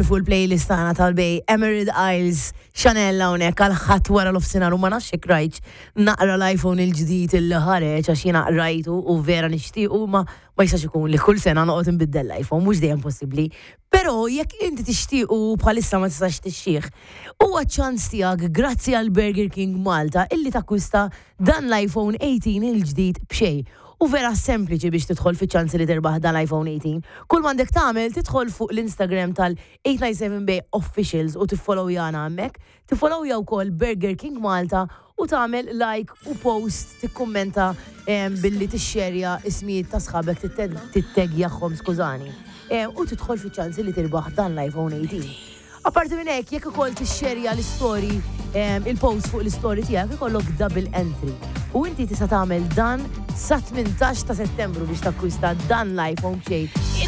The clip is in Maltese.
Fuq il-playlist tagħna tal-Bay Emerald Isles Chanel hawnhekk għal ħadd wara l-ofsinhar u ma nafx jekk rajtx naqra l-iPhone il-ġdid illi ħareġ għax jiena qrajtu u vera nixtiequ ma ma jistax ikun li kull sena noqgħod inbiddel l-iPhone mhux dejjem possibbli. Però jekk inti tixtiequ u bħalissa ma tistax tixxih, huwa ċ-ċans tiegħek grazzi għal Burger King Malta illi takkwista dan l-iPhone 18 il-ġdid b'xejn. U vera sempliċi biex tidħol fiċ-ċans li tirbaħ dan l-iPhone 18. Kull m'għandek tagħmel tidħol fuq l-Instagram tal-897 Bay Officials u tiffollowjana hemmhekk, tiffollowja wkoll Burger King Malta u tagħmel like u post tikkummenta billi tixxerja ismijiet ta' sħabek tittegjahom skużani. U tidħol fiċ-ċans li tirbaħ dan l-iPhone 18. Apparti minn hekk, jekk ukoll tixxerja l-istori, il-post fuq l-istori tiegħek ikollok double entry. U inti tista' tagħmel dan sa 18 ta' Settembru biex takkwista dan l-iPhone b'xejn.